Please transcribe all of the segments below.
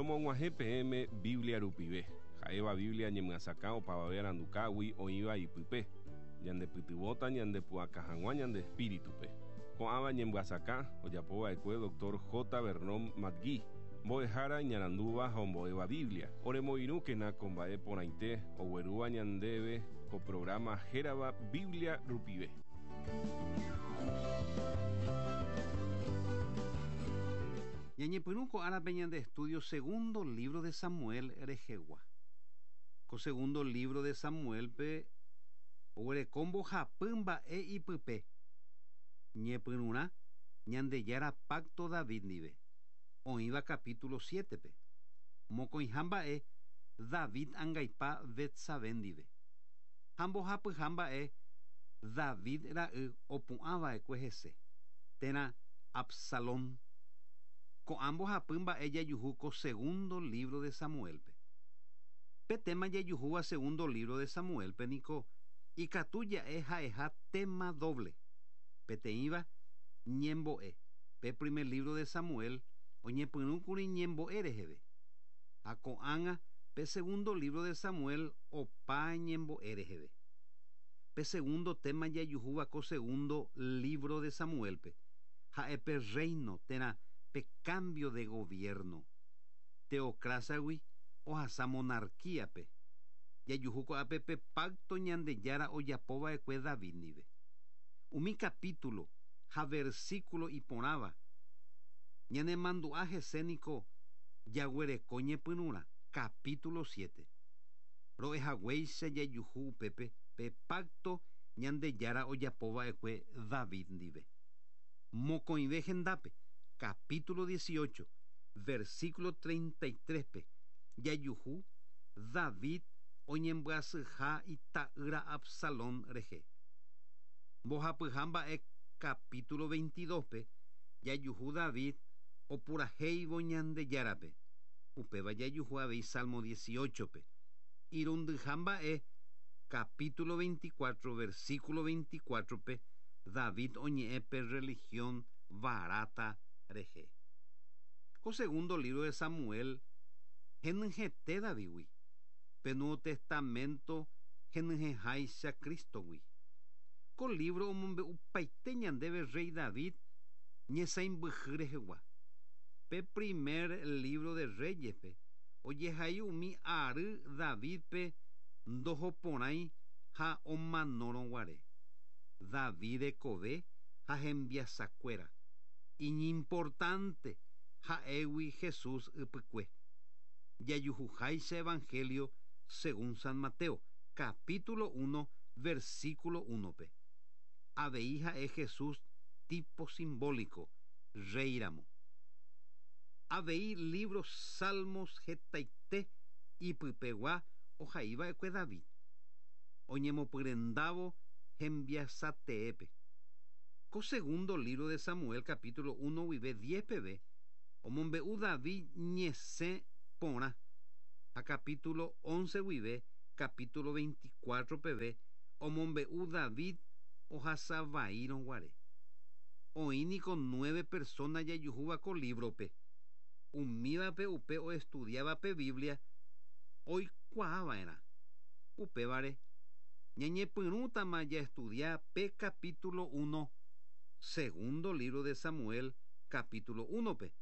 Romog̃uahẽ peẽme Biblia rupive, ha'éva Biblia ñemyasakã opavave arandukágui oĩva ipype, ñandepytyvõta ñandepu'aka hag̃ua ñande espíritupe. Ko'ãva ñemyasakã ojapova'ekue Dr. J. Vernon McGee, mbo'ehára iñarandúva ha ombo'éva Biblia. Oremoirũkena ko mba'e porãite oguerúva ñandéve ko programa hérava Biblia rupive. Ñañepyrũ ko árape ñande estudio segundo libro de Samuel rehegua. Ko segundo libro de Samuel-pe oguereko mbohapy mba'e ipype. Ñepyrũrã Ñandejára pacto David ndive, oĩva capítulo 7-pe. Mokõiha mba'e David angaipa Betsabé ndive. Ha mbohapyha mba'e David ra'y opu'ãva'ekue hese, térã Absalón. Ko'ã mbohapy mba'e jajuhu ko segundo libro de Samuel-pe. Pe tema jajuhúva segundo libro de Samuel-pe niko ikatu ja'e ha'eha tema doble. Peteĩva ñembo'e. Pe primer libro de Samuel oñepyrũkuri ñembo'e reheve. Ha ko'ág̃a pe segundo libro de Samuel opa ñembo'e reheve. Pe segundo tema jajuhúva ko segundo libro de Samuel-pe ha'e pe reino térã pe cambio de gobierno. Teocracia-gui ohasa monarquía-pe. Jajuhu ko'ápe pe pacto Ñandejára ojapova'ekue David ndive. Umi capítulo ha versículo iporãva ñanemandu'a hese niko jaguereko ñepyrũrã capítulo 7. Ro'ehaguéicha jajuhu upépe pe pacto Ñandejára ojapova'ekue David ndive. Mokõive hendápe, capítulo 18, versículo 33-pe, jajuhu David oñembyasyha ita'ýra Absalón rehe. Mbohapyha mba'e capítulo 22-pe, jajuhu David opurahéivo Ñandejárape. Upéva jajuhu avei Salmo 18-pe. Irundyha mba'e capítulo 24, versículo 24-pe, David oñe'ẽ pe religión barata rehe. Ko segundo libro de Samuel henyhẽte Davidgui. Pe Nuevo Testamento henyhẽháicha Cristogui. Ko libro omombe'upaite ñandéve rey David ñesãimbyhy rehegua. Pe primer libro de Reyes-pe ojehai umi ary Davidpe ndohoporãi ha omanórõguare. David rekove ha hembiasakuéra. Iñimportante ha'égui Jesús ypykue. Jajuhuháicha Evangelio según San Mateo, capítulo 1, versículo 1-pe. Avei ha'e Jesús tipo simbólico, rey ramo. Avei libro Salmos hetaite ipypegua ohaiva'ekue David. Oñemopyrendávo hembiasateépe. Ko segundo libro de Samuel capítulo 1 guive 10 peve omombe'u David ñesẽ porã. Ha capítulo 11 guive capítulo 24 peve omombe'u David ohasavaírõguare. Oĩ niko 9 persona jajuhúva ko libro-pe. Umívape upe oestudiaba pe Biblia oikuaava'erã. Upévare ñañepyrũtama jaestudia pe capítulo 1 segundo libro de Samuel capítulo 1-pe.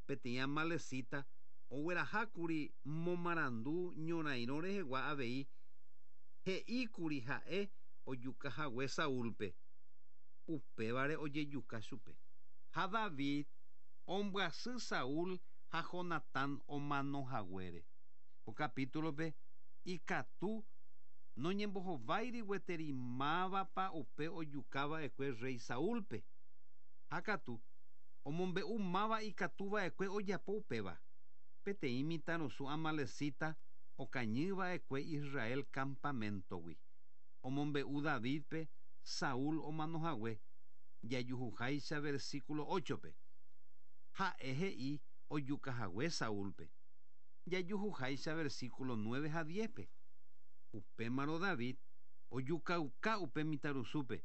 Peteĩ amalecita oguerahákuri momarandu ñorairõ rehegua avei he'íkuri ha'e ojukahague Saúlpe. Upévare ojejuka chupe. Ha David ombyasy Saúl ha Jonatán omanohaguére. Ko capítulo-pe ikatu noñembohováiri gueteri mávapa upe ojukava'ekue rey Saúlpe. Ha katu omombe'u máva ikatuva'ekue ojapo upéva. Peteĩ mitãrusu amalecita okañyva'ekue Israel campamentogui. Omombe'u Davidpe Saúl omanohague jajuhuháicha versículo 8-pe. Ha'e he'i ojukahague Saúlpe. Jajuhuháicha versículo 9 ha 10-pe. Upémarõ David ojukauka upe mitãrusúpe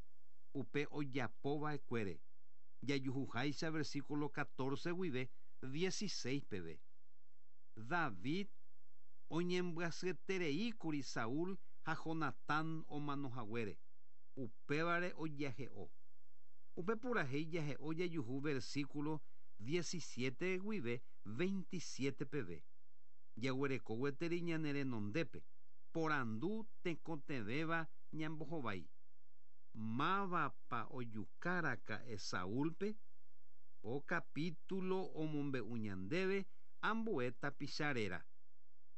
upe ojapova'ekuére. Jajuhuháicha versículo 14 guive 16 peve. David oñembyasyetereíkuri Saúl ha Jonatán omanohaguére, upévare ojahe'o. Upe purahéi jahe'o jajuhu versículo 17 guive 27 peve. Jaguereko gueteri ñane renondépe, porandu tekotevẽva ñambohovái. Mávapa ojukáraka'e Saúlpe? Ko capítulo omombe'u ñandéve ambue tapicha réra.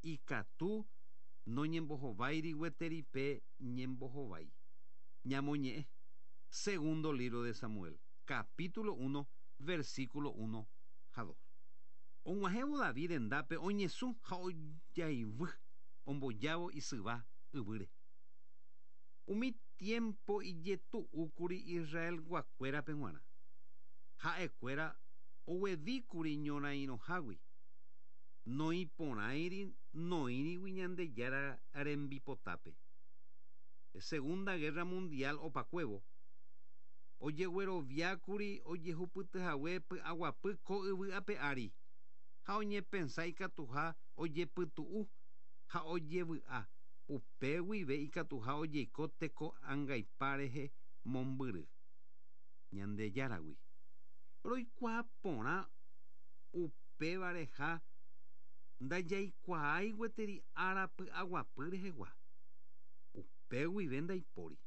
Ikatu noñembohováiri gueteri pe ñembohovái. Ñamoñe'ẽ. Segundo libro de Samuel, capítulo 1, versículo 1 ha 2. Og̃uahẽvo David rendápe oñesũ ha ojaivy ombojávo isyva yvýre. Umi tiempo ijetu'úkuri Israelguakuérape g̃uarã. Ha'ekuéra oguevíkuri ñorairõhágui. Noĩporãiri noĩrigui Ñandejára rembipotápe. Segunda Guerra Mundial opakuévo, ojegueroviákuri ojehupytyhague py'aguapy ko yvy ape ári, ha oñepensa ikatuha ojepytu'u ha ojevy'a, upe guive ikatuha ojeiko teko angaipa rehe mombyry Ñandejáragui. Roikuaa porã upévareha ndajaikuaái gueteri ára py'aguapy rehegua. Upe guive ndaipóri.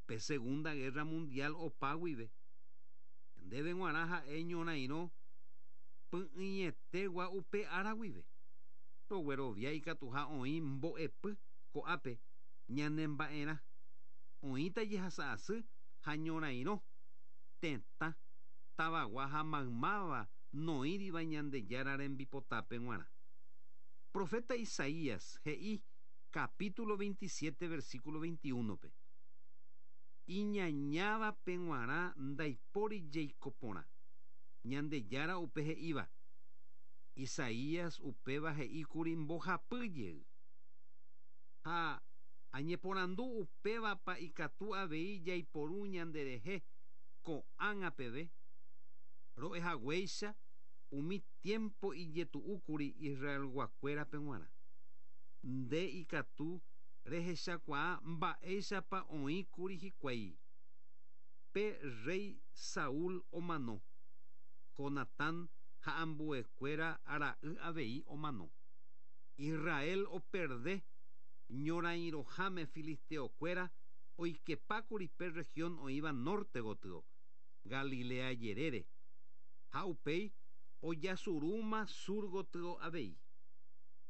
Pe Segunda Guerra Mundial opa guive, ñandéve g̃uarã ha'e ñorairõ py'ỹietegua upe ára guive. Roguerovia ikatuha oĩ mbo'epy ko'ápe ñanemba'erã. Oĩta jehasa asy ha ñorairõ, tetã, tavagua ha maymáva noĩriva Ñandejára rembipotápe g̃uarã. Profeta Isaías he'i capítulo 27 versículo 21-pe, Iñañávape g̃uarã ndaipóri jeiko porã. Ñandejára upe he'íva. Isaías upéva he'íkuri mbohapy jey. Ha añeporandu upévapa ikatu avei jaiporu ñanderehe ko'ág̃a peve. Ro'ehaguéicha umi tiempo ijetu'úkuri Israelguakuérape g̃uarã. Nde ikatu rehechakuaa mba'éichapa oĩkuri hikuái. Pe rréi Saúl omano, Jonatán ha ambuekuéra ra'y avei omano. Israel operde ñorairõháme filisteokuéra oikepákuri pe región oĩva norte gotyo, Galilea jerére, ha upéi ojasurúma sur gotyo avei.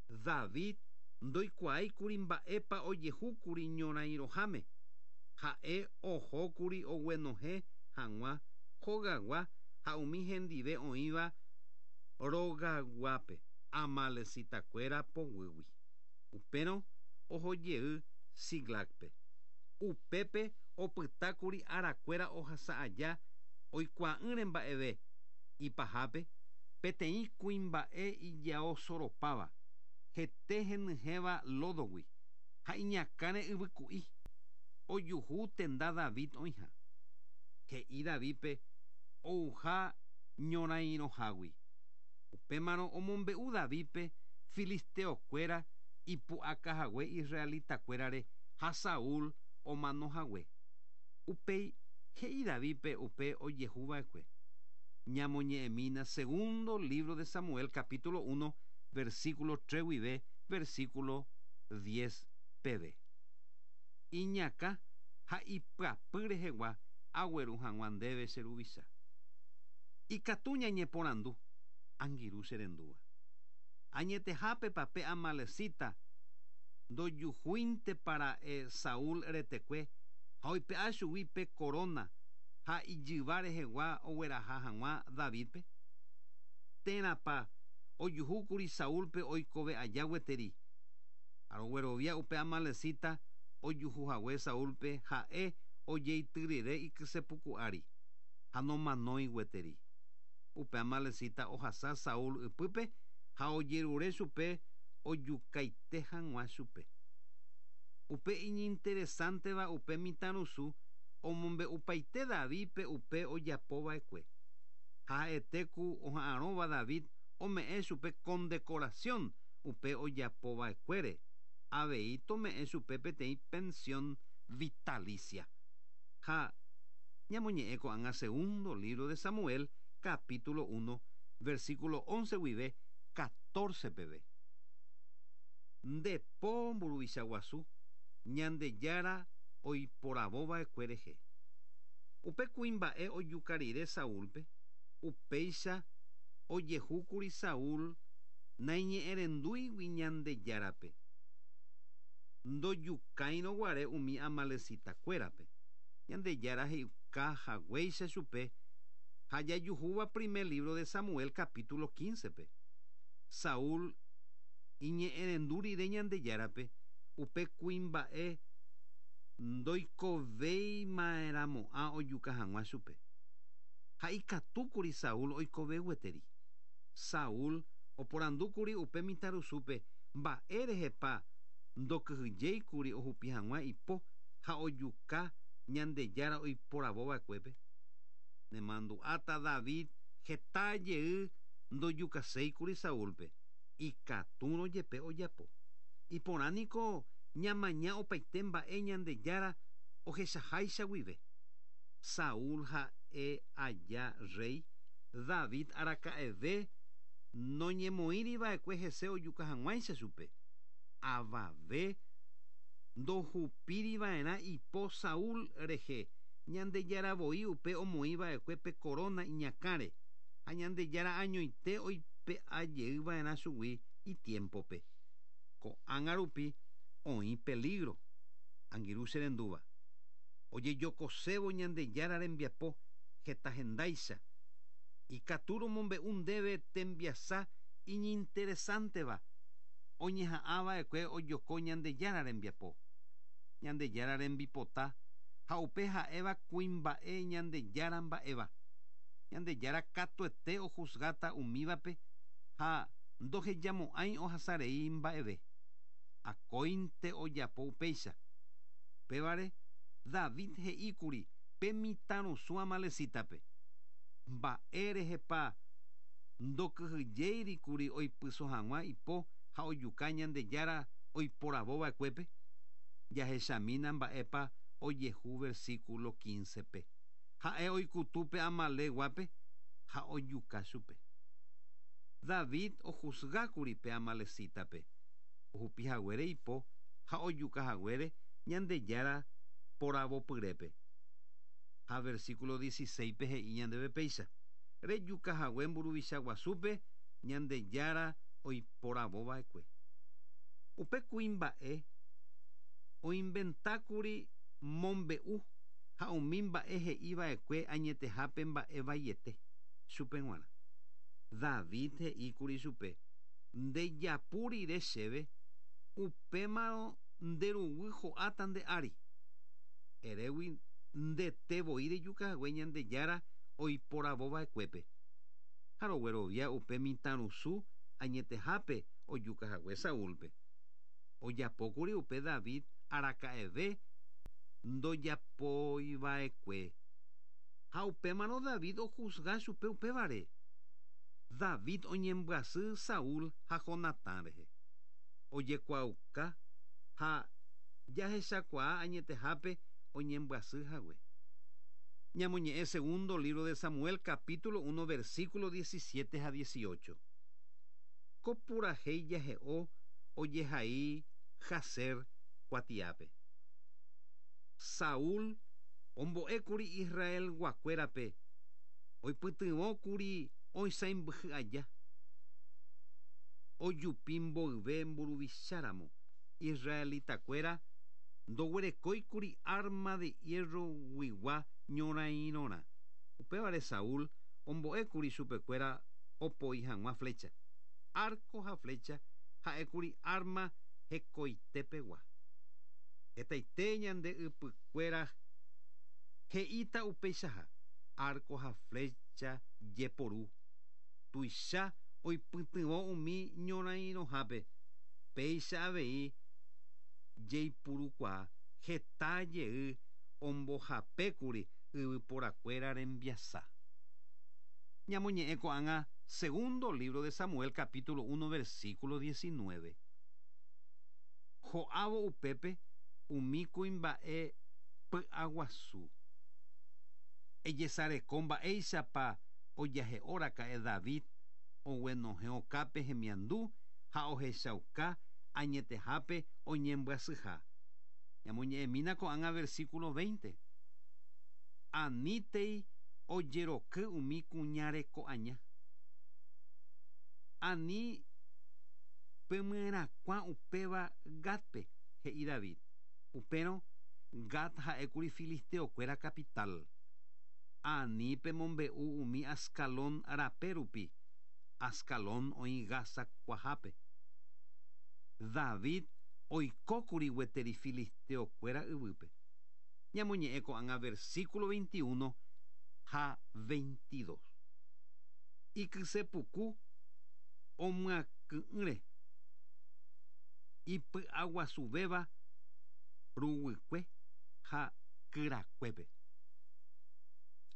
David ndoikuaáikuri mba'épa ojehúkuri ñorairõháme, ha'e ohókuri oguenohẽ hag̃ua hogagua ha umi hendive oĩva rogaguápe amalecitakuéra poguýgui. Upérõ ohojey Siclagpe. Upépe opytákuri arakuéra ohasa aja oikuaa'ỹre mba'eve ipahápe peteĩ kuimba'e ijao soropáva, hete henyhẽva lódogui ha iñakãre yvyku'i, ojuhu tenda David oĩha. He'i Davídpe ouha ñorairõhágui. Upémarõ omombe'u Davídpe filisteokuéra ipu'akahague israelitakuérare ha Saúl omanohague. Upéi he'i Davídpe upe ojehuva'ekue. Ñamoñe'ẽmína segundo libro de Samuel capítulo 1 versículo 3 guive versículo 10 peve. Iñakã ha ipyapy rehegua agueru hag̃ua ndéve che ruvicha. Ikatu ñañeporandu, angirũ che rendúva. Añetehápepa pe amalecita ndojuhúintepa ra'e Saúl retekue ha oipe'a chugui pe corona ha ijyva rehegua ogueraha hag̃ua Davídpe? Térãpa ojuhúkuri Saúlpe oikove aja gueteri? Ha roguerovia upe amalecita ojuhuhague Saúlpe ha'e ojeity rire ikysepuku ári, ha nomanói gueteri. Upe amalecita ohasa Saúl ypýpe ha ojerure chupe ojukaite hag̃ua chupe. Upe iñinteresánteva upe mitãrusu omombe'upaite Davídpe upe ojapova'ekue. Ha ha'ete ku oha'arõva David Ome'ẽ chupe condecoración upe ojapova'ekuére, avei tome'ẽ chupe peteĩ pensión vitalicia. Ha ñamoñe'ẽ ko'ág̃a Segundo libro de Samuel, capítulo 1, versículo 11 guive 14 peve. Nde po mburuvicha guasu, Ñandejára oiporavova'ekue rehe. Upe kuimba'e ojuka rire Saúlpe, upéicha ojehúkuri Saúl naiñe'ẽrendúigui Ñandejárape, ndojukáirõ guare umi amalecita-kuérape. Ñandejára he'iuka haguéicha chupe ha jajuhúva primer libro de Samuel capítulo 15-pe. Saúl iñe'ẽrendu rire Ñandejárape, upe kuimba'e ndoikovéima'erãmo'ã ojuka hag̃ua chupe. Ha ikatúkuri Saúl oikove gueteri. Saúl oporandúkuri upe mitãrusúpe mba'e rehepa ndokyhyjéikuri ohupi hag̃ua ipo ha ojuka Ñandejára oiporavova'ekuépe. Nemandu'áta David heta jey ndojukaséikuri Saúlpe, ikatúrõ jepe ojapo. Iporã niko ñamaña opaite mba'e Ñandejára ohechaháicha guive. Saúl ha'e aja rréi, David araka'eve noñemoĩri va'ekue hese ojuka hag̃uáicha chupe. Avave ndohupíri va'erã ipo Saúl rehe, Ñandejára voi upe omoĩ va'ekue pe koróna iñakãre, ha Ñandejára añoite oipe'a jey va'erã chugui itiémpope. Ko'ág̃a rupi oĩ pelígro, angirũ che rendúva. Ojejokosévo Ñandejára rembiapo heta hendáicha, ikatu romombe'u ndéve tembiasa iñinteresánteva oñeha'ã va'ekue ojoko Ñandejára rembiapo, Ñandejára rembipota ha upe ha'éva kuimba'e Ñandejára mba'éva. Ñandejára katuete ohusgáta umívape ha ndohejamo'ãi ohasa rei mba'eve. Akóinte ojapo upéicha. Upévare, David he'i kuri pe mitãrusu amalecítape, Mba'e rehepa ndokyhyjéiri kuri oipyso hag̃ua ipo ha ojuka Ñandejára oiporavo va'ekuépe? Jahechamína mba'épa ojehu versículo 15-pe. Ha'e oikutu pe Amalec-guápe ha ojuka chupe. David ohusga kuri pe amalecítape, ohupi haguére ipo ha ojuka haguére Ñandejára poravopyrépe. Ha versículo 16-pe he'i ñandéve péicha, Rejuka hague mburuvicha guasúpe Ñandejára oiporavo va'ekue. Upe kuimba'e oinventákuri mombe'u ha umi mba'e he'i va'ekue añetehápe mba'e vaiete chupe g̃uarã. David he'i kuri chupe, Nde japu rire chéve, upémarõ nde ruguy ho'áta nde ári. Erégui ndete voi rejuka hague Ñandejára oiporavo va'ekuépe. Ha roguerovia upe mitãrusu añetehápe ojuka hague Saúlpe. Ojapókuri upe David araka'eve ndojapoiva'ekue. Ha upémarõ David ohusga chupe upévare. David oñembyasy Saúl ha Jonatán rehe. Ojekuaauka ha jahechakuaa añetehápe oñembyasy hague. Ñamoñe'ẽ segundo libro de Samuel capítulo 1 versículo 17 ha 18. Ko purahéi jahe'o ojehai Jaser kuatiápe. Saúl ombo'ékuri Israelguakuérape oipytyvõkuri oisãimbyhy aja. Ojupi mboyve mburuvicháramo, israelitakuéra ndoguerekóikuri árma de hierro-guigua ñorairõrã. Upévare Saúl ombo'ékuri chupekuéra opoi hag̃ua flécha. Árko ha flécha ha'ékuri árma hekoitepegua. Hetaite ñande ypykuéra he'íta upeichaha, árko ha flécha jeporu, tuicha oipytyvõ umi ñorairõhápe, péicha avei jeipurukuaa heta jey ombohapékuri yvyporakuéra rembiasa. Ñamoñe'ẽ ko'ág̃a Segundo libro de Samuel capítulo 1 versículo 19. Ho'ávo upépe umi kuimba'e py'aguasu. Ejesareko mba'éichapa ojahe'oraka'e David oguenohẽ okápe hemiandu ha ohechauka añetehápe oñembyasyha. Ñamoñe'ẽmína ko'ág̃a versículo 20. Anítei ojeroky umi kuña reko aña. Ani pemyerakuã upéva Gatpe, he'i David. Upérõ Gat ha'ékuri filisteokuéra capital. Ani pemombe'u umi Ascalón rape rupi. Ascalón oĩ Gaza kuahápe. David oikókuri gueteri filisteokuéra yvýpe. Ñamoñe'ẽ ko'ág̃a versículo 21 ha 22. Ikysepuku omyakỹ'ỹre ipy'aguasuvéva ruguykue ha kyrakuépe.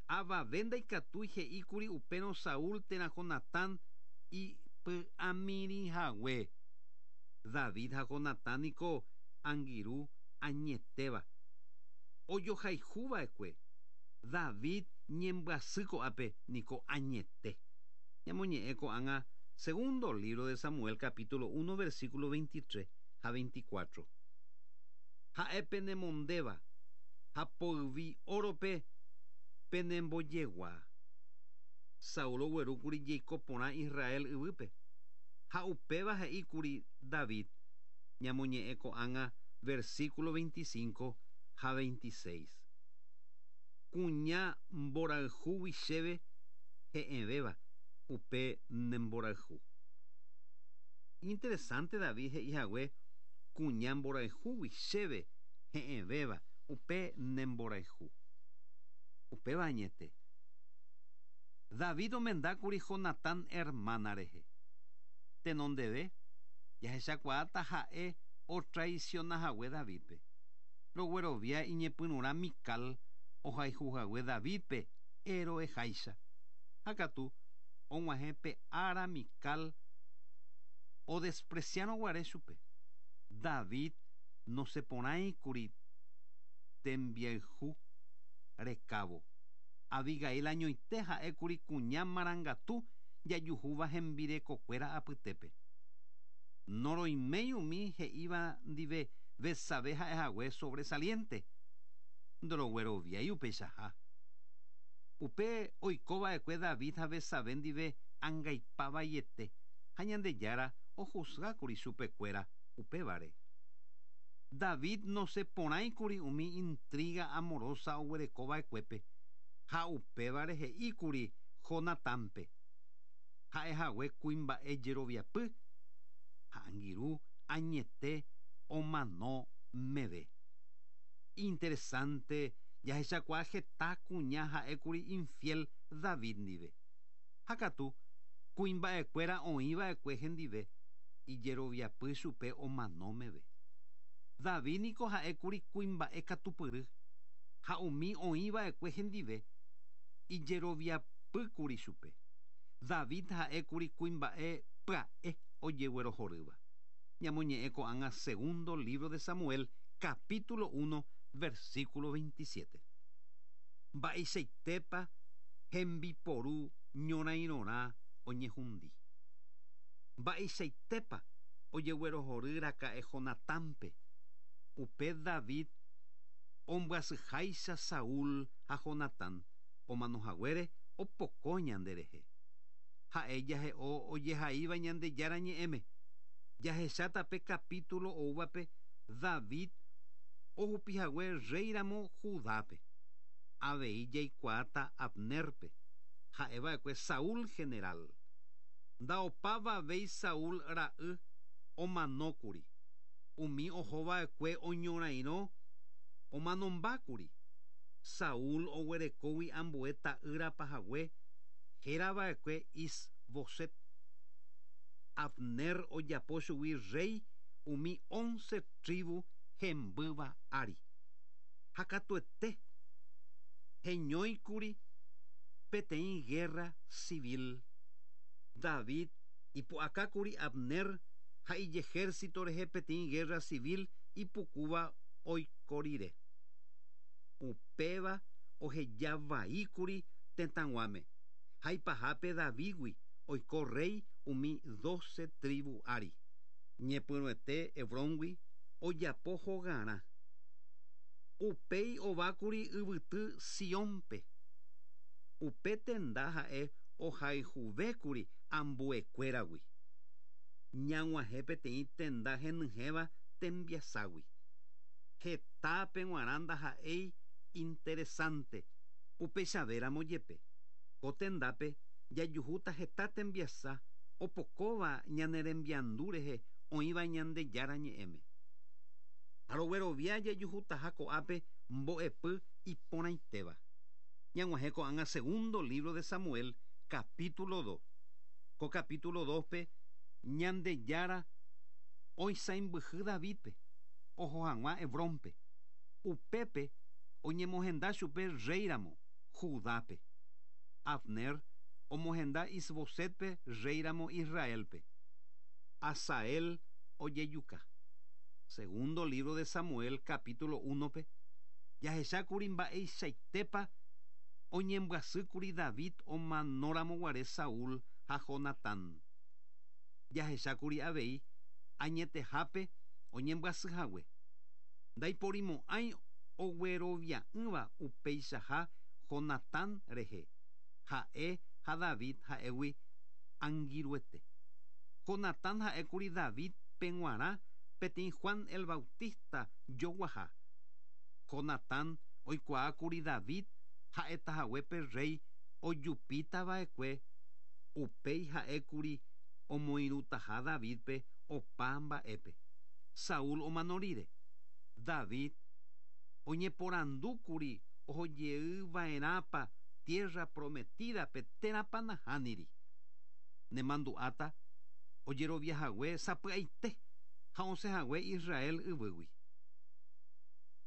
Avave ndaikatúi he'íkuri upérõ Saúl térã Jonatán ipy'amirĩhague. David ha Jonatán niko angirũ añetéva. Ojohayhuva'ekue. David ñembyasy ko'ápe niko añete. Ñamoñe'ẽ ko'ág̃a segundo libro de Samuel capítulo 1 versículo 23 ha 24. Ha'e penemondéva ha poyvi órope penembojegua. Saúl oguerúkuri jeiko porã Israel yvýpe. Ha upéva he'íkuri David. Ñamoñe'ẽ ko'ág̃a versículo 25 ha 26. Kuña mborayhúgui chéve he'ẽvéva upe nemborayhu. Interesante David he'ihague kuña mborayhúgui chéve he'ẽvéva upe nemborayhu. Upéva añete. David omendákuri Jonatán hermana rehe. Tenondeve jahechakuaáta ha'e otraicionahague Davidpe. Roguerovia iñepyrũrã Mical ohayhuhague Davidpe héroeháicha. Ha katu og̃uahẽ pe ára Mical odespreciarõguare chupe. David noseporãikuri tembiayhu rekávo. Abigail añoite ha'ékuri kuña marangatu jajuhúva hembirekokuéra apytépe. Noroiméi umi he'íva ndive Betsabé ha'ehague sobresaliente. Ndorogueroviái upeichaha. Upe oikova'ekue David ha Betsabé ndive angaipavaiete ha Ñandejára ojuzgákuri chupekuéra upévare. David noseporãikuri umi intriga amorosa oguerekova'ekuépe ha upévare he'íkuri Jonatánpe. Ha'ehague kuimba'e jeroviapy ha angirũ añete omano meve. Interesante jahechakuaa heta kuña ha'ékuri infiel David ndive. Ha katu kuimba'ekuéra oĩva'ekue hendive ijeroviapy chupe omano meve. David niko ha'ékuri kuimba'e katupyry ha umi oĩva'ekue hendive ijeroviapýkuri chupe. David ha'ékuri kuimba'e pya'e ojeguerohorýva. Ñamoñe'ẽ ko'ág̃a segundo libro de Samuel capítulo 1 versículo 27. Mba'eichaitépa hembiporu ñorairõrã oñehundi. Mba'eichaitépa ojeguerohoryraka'e Jonatánpe. Upe David ombyasyháicha Saúl ha Jonatán omanohaguére opoko ñanderehe. Ha'e jahe'o ojehaíva Ñandejára ñe'ẽme. Jahecháta pe capítulo oúvape David ohupihague rréiramo Judápe. Avei jaikuaáta Abnerpe. Ha'eva'ekue Saúl general. Ndaopavavéi Saúl ra'y omanókuri. Umi ohova'ekue oñorairõ omanombákuri. Saúl oguerekógui ambue ta'ýra pahague hérava'ekue Is-boset. Abner ojapo chugui rey umi 11 tribu hembýva ári. Ha katuete heñóikuri peteĩ guerra civil. David ipu'akákuri Abner ha ijehérsito rehe peteĩ guerra civil ipukúva oiko rire. Upéva ohejavaíkuri tetãguáme ha ipahápe Davídgui oiko rréi umi dóse trívu ári. Ñepyrũete Hebróngui ojapo hogarã. Upéi ovákuri yvyty Siónpe. Upe tenda ha'e ohayhuvékuri ambuekuéragui. Ñag̃uahẽ peteĩ tenda henyhẽva tembiaságui. Hetápe g̃uarã ndaha'éi interesante, upeichavéramo jepe. Ko tendápe jajuhúta heta tembiasa opokóva ñane rembiandu rehe oĩva Ñandejára Ñe'ẽme. Ha roguerovia jajuhutaha ko'ápe mbo'epy iporãitéva. Ñag̃uahẽ ko'ág̃a segundo lívro de Samuel, capítulo dos. Ko capítulo dos-pe Ñandejára oisãimbyhy Davídpe oho hag̃ua Hebrónpe. Upépe oñemohenda chupe rréiramo Judápe. Abner omohenda Isbosétpe rréiramo Israélpe. Asael ojejuka. Segundo lívro de Samuel capítulo únope jahechákuri mba'eichaitépa oñembyasýkuri David omanóramo guare Saúl ha Jonatán. Jahechákuri avei añetehápe oñembyasy hague. Ndaiporimo'ãi oguerovia'ỹva upeichaha Jonatán rehe, ha'e ha David ha'égui angirũete. Jonatán ha'ékuri David peg̃uarã peteĩ Juan el Bautista joguaha. Jonatán oikuaákuri David ha'etahague pe rréi ojupítava'ekue, upéi ha'ékuri omoirũtaha Davídpe opa mba'épe. Saúl omano rire, David oñeporandúkuri ohojeyva'erãpa Tierra Prometida-pe térãpa nahániri. Nemandu'áta ojeroviahague sapy'aite ha osẽhague Israel yvýgui.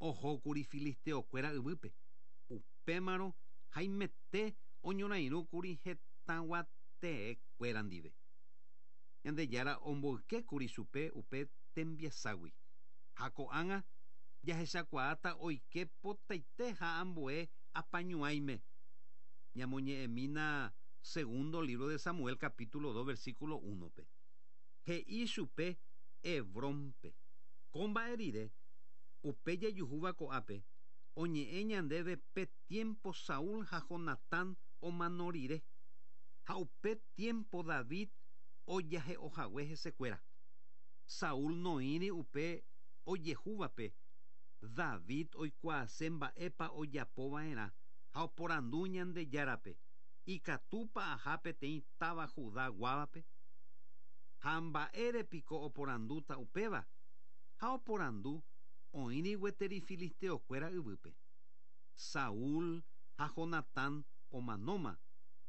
Ohókuri filisteokuéra yvýpe, upémarõ haimete oñorairõkuri hetãguateekuéra ndive. Ñandejára omboykékuri chupe upe tembiaságui. Ha ko'ág̃a jahechakuaáta oike potaite ha ambue apañuãime. Ñamoñe'ẽmína segundo lívro de Samuel capítulo dos versículo únope. He'i chupe Hebrónpe. Ko mba'e rire, upe jajuhúva ko'ápe, oñe'ẽ ñandéve pe tiémpo Saúl ha Jonatán omano rire, ha upe tiémpo David ojahe'ohague hesekuéra. Saúl noĩri upe ojehúvape, David oikuaase mba'épa ojapo va'erã ha oporandu Ñandejárape, Ikatúpa aha peteĩ táva Judá guávape? Ha mba'ére piko oporandúta upéva? Ha oporandu oĩri gueteri filisteokuéra yvýpe. Saúl ha Jonatán omanóma,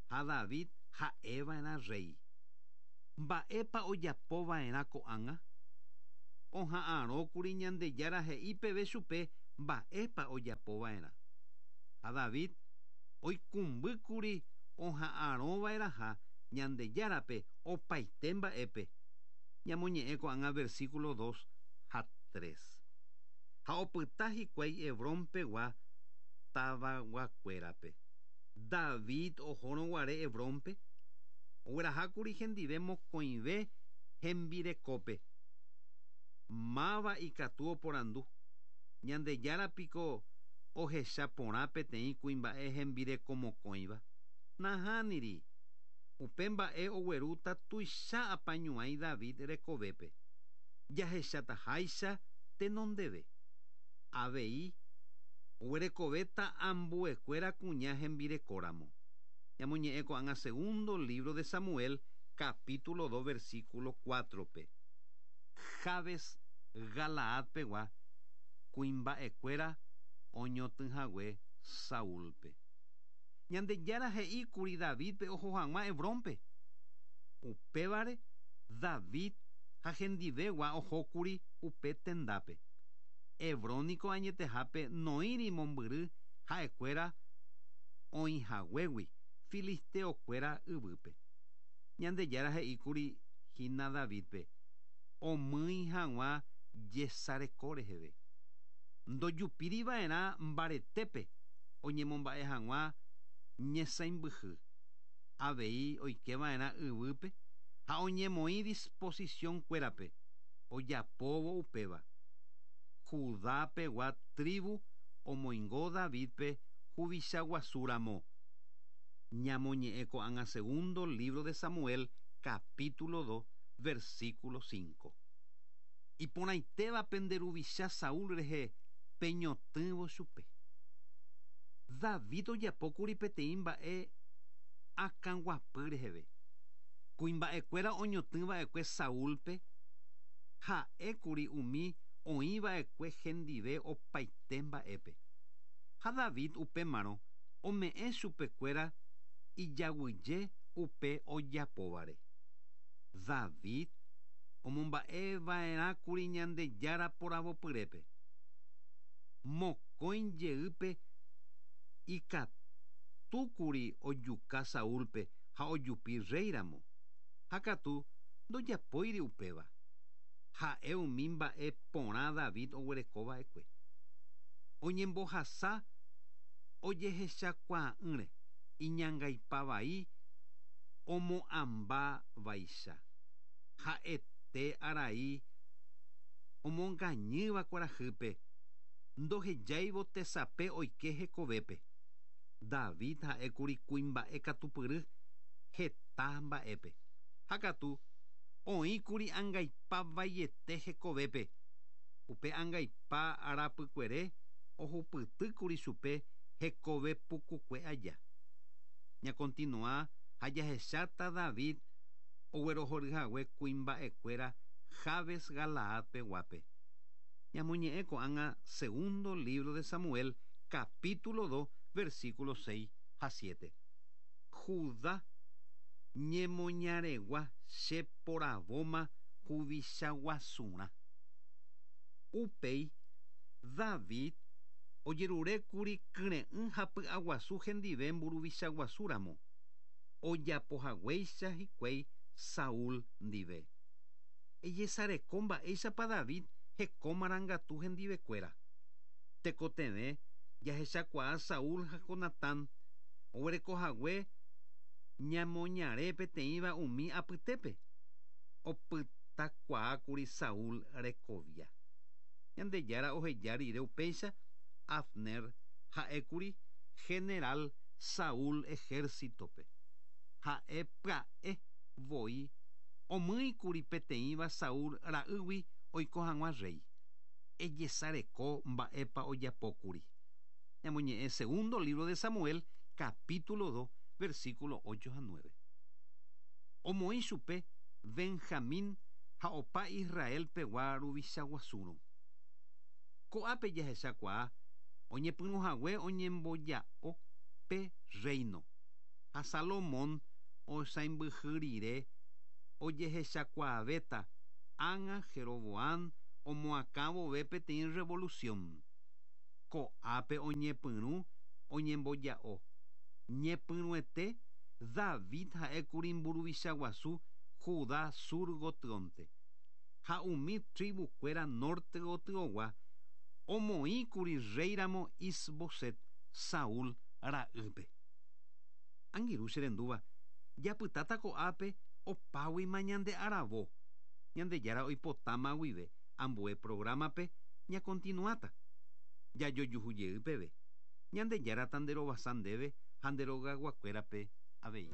ha David ha'e va'erã rréi. Mba'épa ojapo va'erã ko'ág̃a? Oha'arõkuri Ñandejára he'i peve chupe mba'épa ojapo va'erã. Ha David oikũmbýkuri oha'arõva'erãha Ñandejárape opaite mba'épe. Ñamoñe'ẽ ko'ág̃a versículo dos ha tres. Ha opyta hikuái Hebrón pegua tavaguakuérape. David ohórõ guare Hebrónpe, oguerahákuri hendive mokõive hembirekópe. Máva ikatu oporandu, Ñandejára piko ohecha porã peteĩ kuimba'e hembireko mokõiva? Nahániri! Upe mba'e oguerúta tuicha apañuãi David rekovépe, jahechataháicha tenondeve. Avei, oguerekovéta ambuekuéra kuña hembirekóramo. Ñamoñe'ẽ ko'ág̃a segundo lívro de Samuel, capítulo dos versículo cuátrope. Jabes Galaad pegua kuimba'ekuéra oñotỹhague Saúlpe. Ñandejára he'i kuri Davídpe oho hag̃ua Hebrónpe. Upévare David ha hendivegua oho kuri upe tendápe. Hebrón niko añetehápe noĩri mombyry ha'ekuéra oĩhaguégui filisteokuéra yvýpe. Ñandejára he'íkuri hína Davídpe omýi hag̃ua jesareko reheve. Ndojupíri va'erã mbaretépe oñemomba'e hag̃ua ñesãimbyhy. Avei oike va'erã yvýpe ha oñemoĩ disposición kuérape ojapóvo upéva. Judá pegua tribu omoingo Davídpe huvicha guasu ramo. Ñamoñe'ẽ ko'ág̃a Segundo lívro de Samuel, capítulo 2, versículo 5. Iporãitéva pende ruvicha Saúl rehe peñotỹvo chupe. David ojapókuri peteĩ mba'e akãguapy reheve. Kuimba'ekuéra oñotỹva'ekue Saúlpe ha'ékuri umi oĩva'ekue hendive opaite mba'épe. Ha David upémarõ ome'ẽ chupekuéra ijaguyje upe ojapóvare. David omomba'eva'erãkuri Ñandejára poravopyrépe. Mokõi jeýpe ikatúkuri ojuka Saúlpe ha ojupi rréiramo, ha katu ndojapóiri upéva. Ha'e umi mba'e porã David oguerekova'ekue. Oñembohasa ojehechakuaa'ỹre, iñangaipa vai omo'ãmba vaicha. Ha'ete arai omongañýva kuarahýpe, ndohejáivo tesape oike hekovépe. David ha'ékuri kuimba'e katupyry heta mba'épe. Ha katu, oĩkuri angaipa vaiete hekovépe. Upe angaipa arapykuere ohupytýkuri chupe hekove pukukue aja. Ñakontinua ha jahecháta David oguerohoryhague kuimba'ekuéra Jabes Galaad peguápe. Ñamoñe'ẽ ko'ág̃a Segundo lívro de Samuel, capítulo 2, versículo 6 ha 7. Judá ñemoñaregua che poravóma huvicha guasurã. Upéi, David ojerurékuri kyre'ỹ ha py'aguasu hendive mburuvicha guasu ramo, ojapohaguéicha hikuái Saúl ndive. Ejesareko mba'éichapa David heko marangatu hendivekuéra. Tekotevẽ jahechakuaa Saúl ha Jonatán oguerekohague ñamoñare peteĩva umi apytépe. Opytakuaákuri Saúl rekovia. Ñandejára oheja rire upéicha, Abner ha'ékuri general Saúl ejércitope. Ha'e pya'e voi omýikuri peteĩva Saúl ra'ýgui oiko hag̃ua rréi. Ejesareko mba'épa ojapókuri. Ñamoñe'ẽ Segundo lívro de Samuel, capítulo 2, versículo 8 ha 9. Omoĩ chupe Benjamín ha opa Israel pegua ruvicha guasúrõ. Ko'ápe jahechakuaa oñepyrũhague oñemboja'o pe rréino, ha Salomón osãimbyhy rire ojehechakuaavéta ág̃a Jeroboán omoakã vove peteĩ rrevolusión. Ko'ápe oñepyrũ oñemboja'o. Ñepyrũete David ha'ékuri mburuvicha guasu Judá sur gotyonte, ha umi tribu-kuéra norte gotyogua omoĩkuri rréiramo Is-Boset, Saúl ra'ýpe. Angirũ che rendúva, japytáta ko'ápe opáguima ñande aravo. Ñandejára oipotáma guive ambue programa-pe ñakontinuáta. Jajojuhu jey peve. Ñandejára tanderovasa ndéve ha nde rogayguakuérape avei.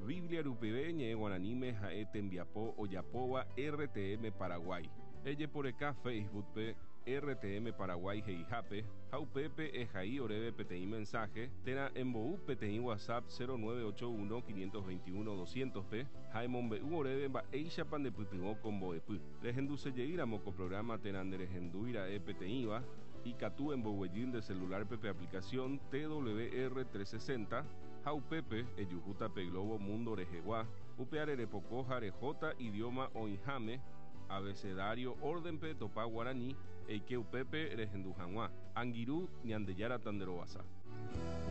Biblia rupive ñe'ẽ guaraníme ha'e tembiapo ojapóva RTM Paraguay. Ejeporeka Facebook-pe RTM Paraguay he'ihápe ha upépe ehai oréve peteĩ mensaje térã embou peteĩ WhatsApp 0981 521 200-pe ha emombe'u oréve mba'éichapa ndepytyvõ ko mbo'epy. Rehendusejeýramo ko programa térã nderehendúira'e peteĩva, ikatu emboguejy nde celular-pe pe aplicación TWR 360 ha upépe ejuhúta pe globo mundo rehegua, upe arerepoko ha rehóta idioma oĩháme, abecedario orden-pe topa guarani, eike upépe rehendu hag̃ua. Angirũ, Ñandejára tanderovasa.